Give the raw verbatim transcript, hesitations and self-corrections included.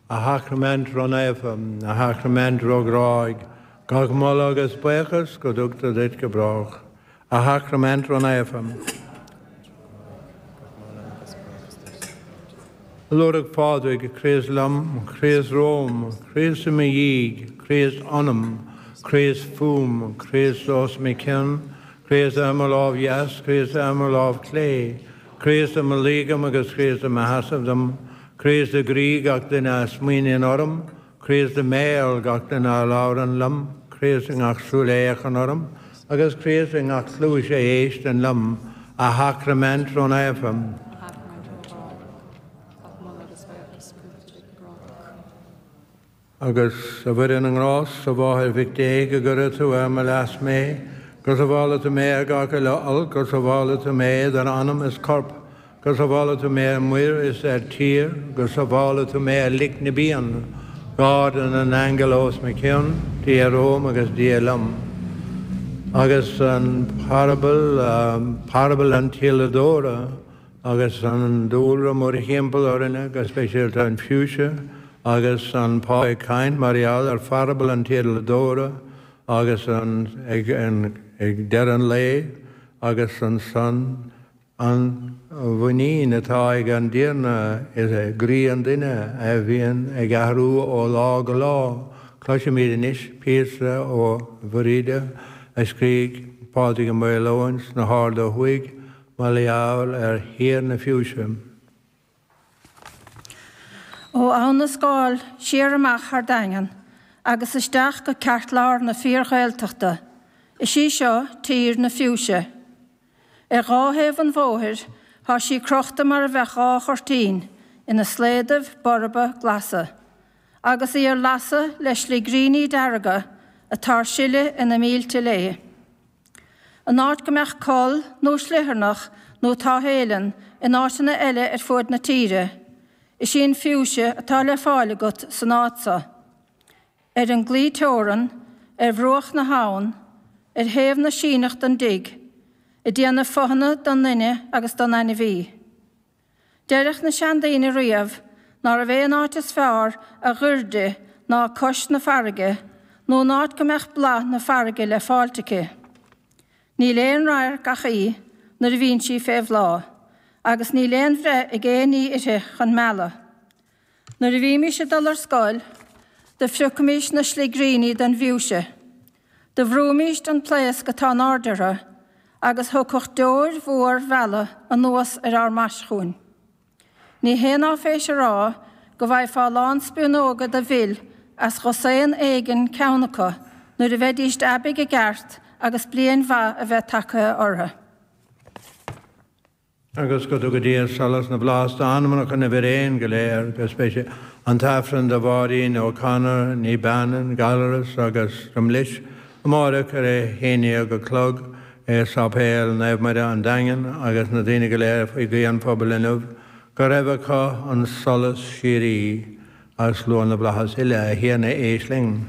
A Shacraimint rónaofa, a Shacraimint róghráidh, gach moladh agus buíochas go dtugtar duit go brách. A Shacraimint rónaofa. Lorg Phádraig, Críost liom, Críost romham, Críost i mo dhiaidh, Críost ionam, Críost fúm, Críost os mo chionn, Críost ar mo lámh dheas, Críost ar mo lámh chlé, Críost i mo luí dom agus Críost i mo sheasamh dom, Críost i gcroí gach duine a smaoiníonn orm, Críost i mbéal gach duine a labhrann liom, Críost i ngach súil a fhéachann orm, agus Críost i ngach cluais a éisteann liom, a Shacraimint rónaofa. Agus a Mhuire na nGrást, a Mháthair Mhic Dé, go gcuire tú ar mo leas mé, go sábhála tú mé ar gach uile olc, go sábhála tú mé idir anam is corp, go sábhála tú mé ar muir is ar tír, go sábhála tú mé ar lic na bpian, Garda na n-aingeal os mo chionn, Dia romham agus Dia liom. Agus an parabal, parabal an tsíoladóra, agus an dúlra mórthimpeall orainne, go speisialta an fuchsia, agus an Pápa ag caint mar gheall ar pharabal an tsíoladóra, agus an ag, an, ag deireadh an lae, agus ansan an mhuinín atá ag an dTiarna i gcroí an duine a bhíonn ag athrú ó lá go lá. Cloisimid anois píosa ó Bhríde a scrígh Pádraig Ó Maoileoin sna hArda Ó Thuaidh mar gheall ar thír na fuchsia. Ó Abha na Scáil siar amach thar Daingean agus isteach go ceartlár na fíor-Ghaeltachta, is í seo tír na fuchsia. Ar dhá thaobh an bhóthair tá sí crochta mar a bheadh dhá chuirtín ina slaodaibh borba glasa, agus í ar lasadh le sligríní dearga atá ar sileadh ina mílte léi. An áit go mbeadh coll nó slithearnach nó táithéileann in áiteanna eile ar fuaid na tíre, is í an fuchsia atá le fáil agat san áit seo. Ar an gclaí teorann, ar bhruach na habhann, ar thaobh na Síneach den dtigh, ag déanamh fothana don duine agus don ainmhí. Deireadh na seandaoine riamh nárbh aon áit is fearr a ghoir di ná cois na farraige, nó an áit go mbeadh bláth na farraige le fáilt aici. Níl aon radharc ach í nuair a bhíonn sí fé bhláth, agus níl aon bhreith ag aon ní uirthi chun mealladh. Nuair a bhímis ag dul ar scoil, do phriocaimis na sligríní den bhfuchsia, do bhrúimis an pléasc atá in airde uirthi, agus thiocfadh deoir mhór mheala anuas ar ár mbais chugainn. Ní haon áiféis a rá go bhfaighfeá lán spúnóga de mhil as dhosaen éigin ceann acu nuair a bheidíst aibidh i gceart agus bliain mhaith a bheith tagtha orthu. Agus go dtuga Dia solas na bhflaitheas d'anamnacha na bhfíréan go léir, go speisialta an tAifreann do Mháirín O'Connor, née Bannon, Gallarus agus Drumlish, amárach ar a haon déag a chlog i Sáipéal Naomh Muire an Daingean agus na daoine go léir faoi ghuí an phobail inniu go raibh acu an solas síoraí agus slua na bhflaitheas uile, a Thiarna éist linn.